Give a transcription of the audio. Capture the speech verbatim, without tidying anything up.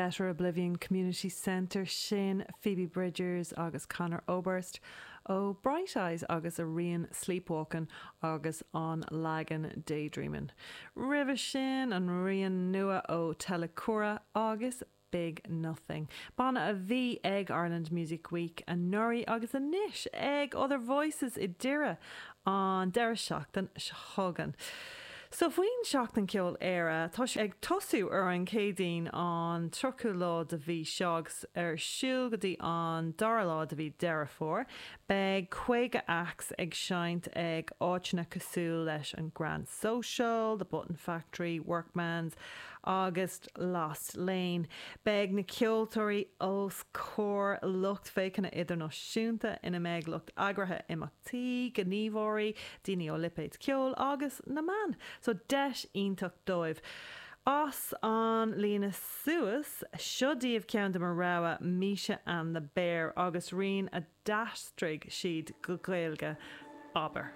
Better Oblivion Community Centre sin Phoebe Bridgers agus Conor Oberst ó Bright Eyes agus a rian Sleepwalkin' agus an leagan Daydreamin'. Roimhe sin an rian nua ó Telecura agus Big Nothing. Banna a bhí ag Ireland Music Week anuraidh agus anois ag Other Voices i nDoire an deireadh seachtaine seo chugainn. So faoin Seachtain Ceoil Éire tá sé ag tosú ar an Céadaoin an tríochú lá de mhí seo agus ar siúl go dtí an dara lá de mhí Deireadh Fómhair. Beidh caoga acts ag seinnt ag áiteanna cosúil leis an Grand Social, The Button Factory, Workman's agus Lost Lane. Beidh na ceoltóirí os comhair lucht féachana idirnáisiúnta ina mbeidh lucht eagraithe imeachtaí, gníomhairí, daoine ó lipéid ceoil agus na meáin. So deis iontach dóibh. As an líne suas, seo daoibh ceann de mo rogha Misha and the Bear agus rian a d'aistrigh siad go Gaeilge abair.